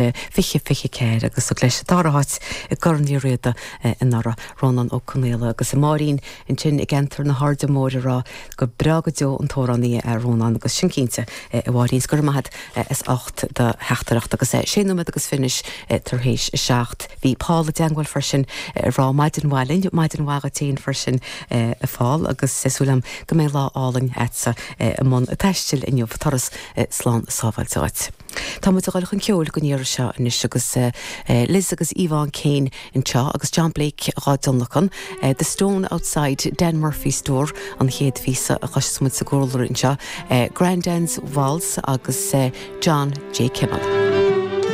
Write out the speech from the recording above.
2024 agus thug leis an dara háit i gCorn Uí Riada anuraidh, Rónán Ó Conaola agus Máirín ansin i gceantar na hAirde Móire ag rá gur breá go deo an t-amhránaí é Rónán agus sin cinnte a Mháirín 's go raibh maith agat as ucht do theachtaireacht agus sé nóiméad agus fiche anois tar éis a 7. Bhí Paul i dteangmháil freisin ag rá maidin mhaith linn, maidin mhaith dhuit féin freisin a Phaul agus súil agam go mbeidh lá álainn agatsa i mbun taistil inniu, turas slán sábháilte dhuit. Tá muid ag dul chun ceoil don iarraidh seo anois agus Liz agus Yvonne Kane anseo agus John Blake dhá dtionlacan, The Stone Outside Dan Murphy's Door an chéad phíosa a chloisfeas muid sa gcúlra anseo, Grandad's Waltz agus John J. Kimmel.